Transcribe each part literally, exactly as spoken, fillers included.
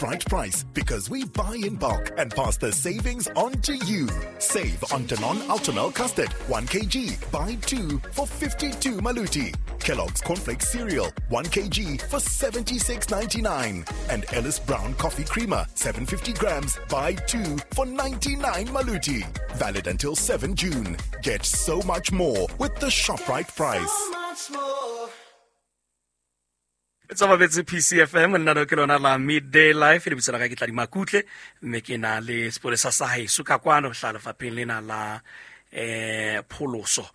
Right price, because we buy in bulk and pass the savings on to you. Save on Danone Ultramel Custard, one kilogram, buy two for fifty-two Maluti. Kellogg's Cornflakes Cereal, one kilogram for seventy-six ninety-nine. And Ellis Brown Coffee Creamer, seven hundred fifty grams, buy two for ninety-nine Maluti. Valid until seventh June. Get so much more with the ShopRite price. So much more. Tsa mabetse P C F M nna ke lona la Midday Life le bitsa la ka ke tla di makutle mme ke na le sepolesa sa haeso ka kwano hla lefapheng lena la eh pholoso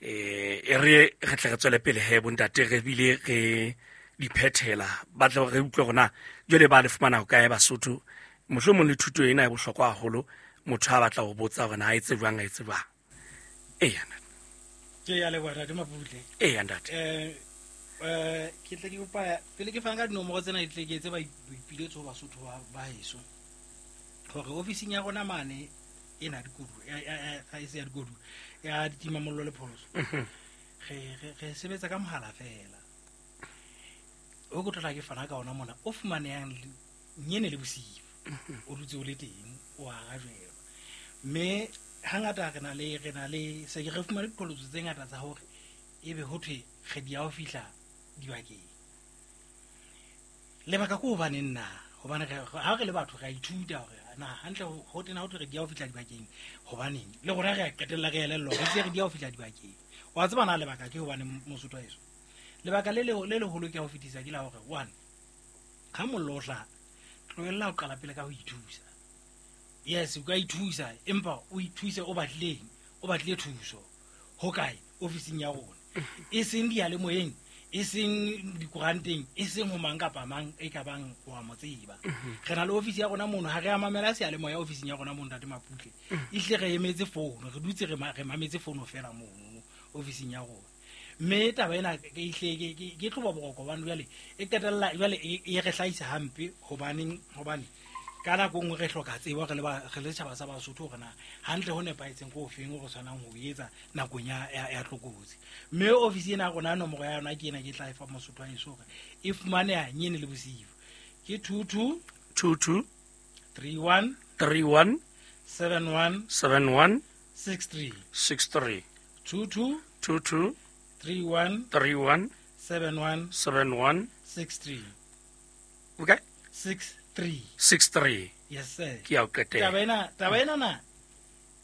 eh e re re tle re tswele pele he bontate re bile re di phethela ba tle re utlwe rona jole ba le fumana ho kae Basotho mohlomong le thuto ena e bohlokwa haholo motho a batla ho botsa hore na a etse jwang a etse jwang e yana ke ya le bona di maputle e ya ntate eh eh ke tle ke kopa pele ke fana ka dinomoro tsena di tle ke etse ba boipiletso ho Basotho ba ba heso hore ofising ya rona mane e na dikodu ga e se ya dikodu ya ditimamollo le pholoso re re sebetsa ka mohala fela o go tla ke fana ka ona mona o fumanehang nyene le bosiu o dutse o le teng o arajwelwa mme hangata re na le re na le se ke re fumane diqholotso tse ngata tsa hore ebe ho thwe re di ya ho fihla dibakeng lebaka ke hobane nna hobane ha re le batho re a ithuta hore na hantle ho tena ho thwe re di ya ho fihla dibakeng hobaneng le rona re a qetella re elellwa re se re di ya ho fihla dibakeng wa tseba na lebaka ke hobane Mosotho heso lebaka le le le leholo ke ho fetisa ke la hore one ha mollo o hlaha tlohella ho qala pele ka ho ithusa yes o ka ithusa empa o ithuse o batlileng o batlile thuso ho kae ofising ya rona e seng diyalemoyeng e seng dikoranteng e seng ho mang kapa mang e ka bang wa mo tseba re na le ofisi ya rona mono ha re a mamela seyalemoya ofising ya rona mono ntate Maputle ehlile re emetse fono re dutse re mametse fono fela mono ofising ya rona mme taba ena ke ihle ke ke tloba boroko hobane jwale e qetella jwale e re hlahisa hampe hobaneng hobane ka nako nngwe re hloka tsebo re le ba re le setjhaba sa Basotho hore na hantle ho nepahetseng ko ofeng o re tshwanang ho etsa nakong ya ya tlokotsi mme ofisi ena ya rona nomoro ya yona ke ena ke tla e fa Mosotho wa heso hore e fumaneha nyene le bosiu ke two two two two three one three one seven one seven one six three six three two two two two three one three one seven one seven one six three okay six three six three yes sir ke ya o qetela taba ena taba ena na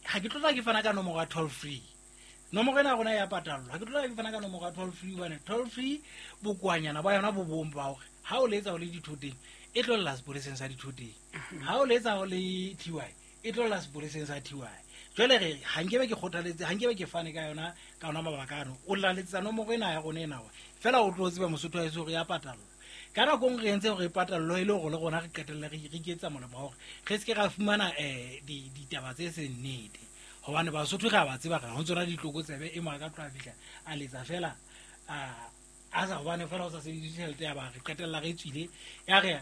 ha ke tlotla ke fana ka nomoro ya toll free nomoro ena rona ya patallwa ha ke tlotla ke fana ka nomoro ya toll free hobane toll free bokwanyana ba yona bo bong ba hore ha o letsa o le dithoteng e tlo lla sepoleseng sa dithoteng ha o letsa o le T Y e tlo lla sepoleseng sa T Y jwale re ha nkebe ke kgothaletse ha nkebe ke fane ka yona ka ona mabaka ano o laletsa nomoro ena ya rona ena fela o tlo tseba Mosotho wa heso hore ya patallwa ka nako nngwe re entse hore e patallwe e le hore le rona re qetelle re re iketsa molemo wa hore re se ke ra fumana um ditaba tse seng nnete hobane Basotho re a ba tseba re ho tsona ditlokotsebe e mo a ka tloha fihla a letsa fela a sa hobane fela o sa sebedise tjhelete ya ba re qetella re tswile ya re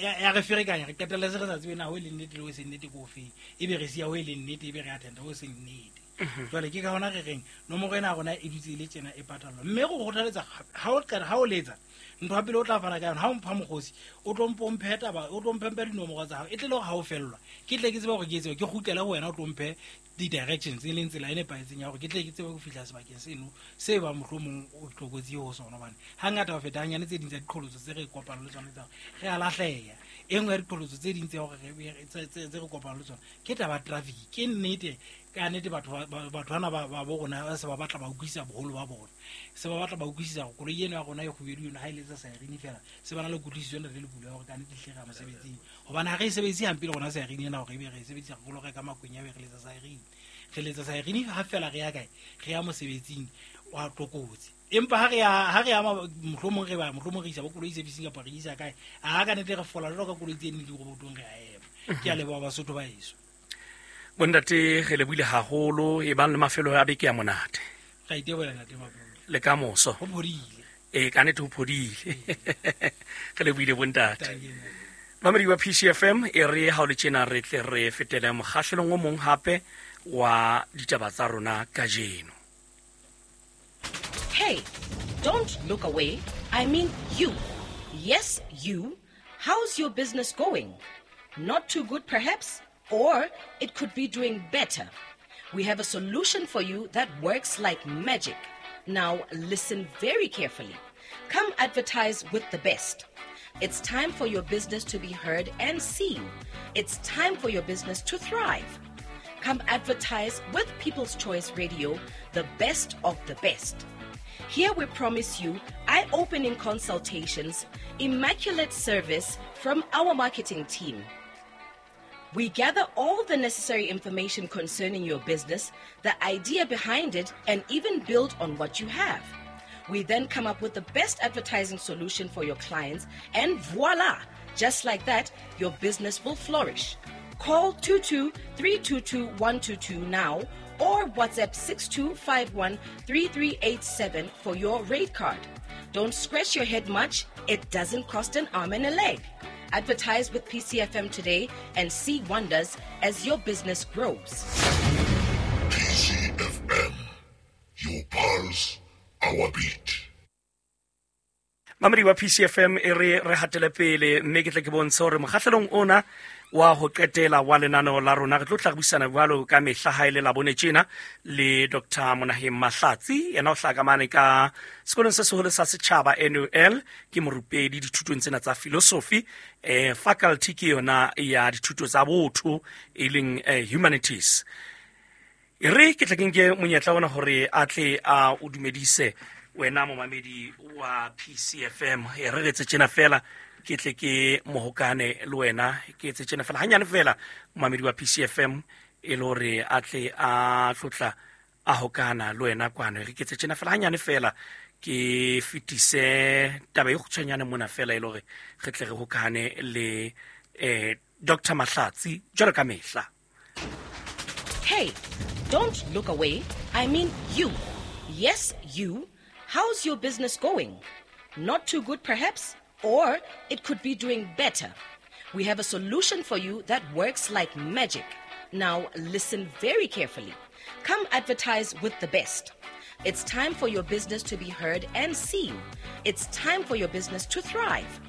ya re ferekanya re qetella se re sa tsebe na ho e leng nnete le ho e seng nnete ke ofeng ebe re siya ho e leng nnete ebe re attenda ho e seng nnete jwale ke ka hona re reng nomoro ena ya rona e dutse e le tjena e patallwa mme go kgothaletsa ha o qeta ha o letsa ntho ya pele o tla fana ka yona ha o mpha mokgosi o tlo mpo mphe taba o tlo mphe dinomoro tsa hao e tle le hore ha o fellwa ke tle ke tsebe hore ke etse ke kgutlele ho wena o tlo mphe di-directions e leng tsela e nepahetseng ya hore ke tle ke tsebe ho fihla sebakeng seno se bang mohlomong o tlokotsi ho sona hobane hangata ho feta hanyane tse ding tsa diqholotso tse re kopanang le tsona tsa hore re a lahleha e nngwe ya diqholotso tse ding tse hore tse re kopanang le tsona ke taba traffic ke nnete ka nnete batho batho bana ba bo rona ba se ba batla ba utlwisisa boholo ba bona se ba batla ba utlwisisa hore koloi eno ya rona e kgubedu yona ha e letsa siren fela se ba na le kutlwisiso ena le lekulo ya hore ka nnete hle re ya mosebetsing hobane ha re e sebedise hampe le rona siren ena hore ebe re e sebedisa re lo reka makwenya ebe re letsa siren re letsa siren ha fela re ya kae re ya mosebetsing wa tlokotsi empa ha re ya ha re ya mohlomong re ba mohlomong re isa bo koloi servicing kapa re isa kae a ka nnete re fola jwalo ka koloi tse nne di robotong re a ema ke a leboha Basotho ba heso bontate re lebohile haholo e bang le mafelo a beke ya monate re itebohela ntate Maputle le ka moso ho phodile e ka nnete ho phodile re lebohile bontate mamedi wa P C F M e re ha o le tjena re tle re fetele mokgahlelong o mong hape wa ditaba tsa rona kajeno. Hey, don't look away. I mean you. Yes, you. How's your business going? Not too good, perhaps, or it could be doing better. We have a solution for you that works like magic. Now, listen very carefully. Come advertise with the best. It's time for your business to be heard and seen. It's time for your business to thrive. Come advertise with People's Choice Radio, the best of the best. Here we promise you eye-opening consultations, immaculate service from our marketing team. We gather all the necessary information concerning your business, the idea behind it, and even build on what you have. We then come up with the best advertising solution for your clients, and voila! Just like that, your business will flourish. Call two two three two two one two two now or WhatsApp six two five one three three eight seven for your rate card. Don't scratch your head much. It doesn't cost an arm and a leg. Advertise with P C F M today and see wonders as your business grows. P C F M, your pulse, our beat. Mamedi wa P C F M e re re hatele pele mme ke tle ke bontshe hore mokgahlelong ona wa ho qetela wa lenaneo la rona re tlo tla re buisana jwalo ka mehla ha e le Labone tjena le Doctor Monaheng Mahlatsi, yena o hlaha ka mane ka sekolong se seholo sa setjhaba N U L, ke morupedi dithutong tsena tsa philosophy, eh faculty ke yona ya dithuto tsa botho e leng eh, humanities. E re ke tle ke nke monyetla ona hore a tle a o dumedise wena momamedi wa P C F M. E re re tse tjena fela ke tle ke mohokane le wena, ke etse tjena fela hanyane fela momamedi wa P C F M e le hore a tle a tlotla a hokana le wena kwano. Re ke etse tjena fela hanyane fela ke fetise taba e kgutshwanyane mona fela e le hore re tle re hokane le eh Doctor Mahlatsi jwalo ka mehla. Hey, don't look away. I mean you. Yes, you. How's your business going? Not too good, perhaps? Or it could be doing better. We have a solution for you that works like magic. Now, listen very carefully. Come advertise with the best. It's time for your business to be heard and seen. It's time for your business to thrive.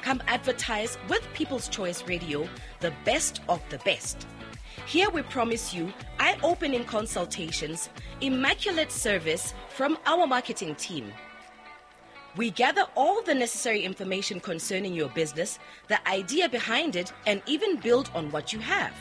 Come advertise with People's Choice Radio, the best of the best. Here we promise you eye-opening consultations, immaculate service from our marketing team. We gather all the necessary information concerning your business, the idea behind it, and even build on what you have.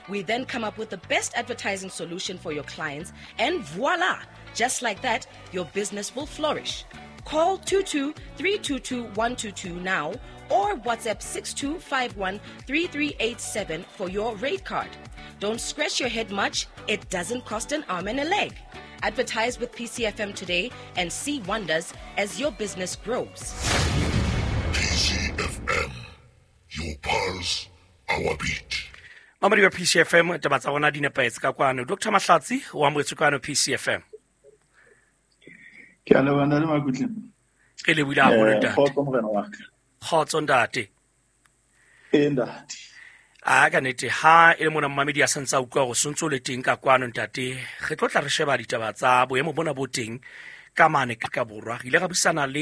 We then come up with the best advertising solution for your clients, and voila! Just like that, your business will flourish. Call two two three two two one two two now or WhatsApp six two five one three three eight seven for your rate card. Don't scratch your head much. It doesn't cost an arm and a leg. Advertise with P C F M today and see wonders as your business grows. P C F M, your pulse, our beat. Mamedi wa P C F M, taba tsa rona di nepahetse ka kwano. Doctor Mahlatsi o amohetswe kwano P C F M. Ke a leboha ntate Makutle. Re lebohile haholo ntate. Kgotso morena wa ka. Kgotso ntate. Ee ntate. A ka nnete ha e le mona momamedi a santse a utlwa hore sontso le teng ka kwano ntate, re tlo tla re sheba ditaba tsa boemo bona bo teng ka mane ka borwa. Re ile ra buisana le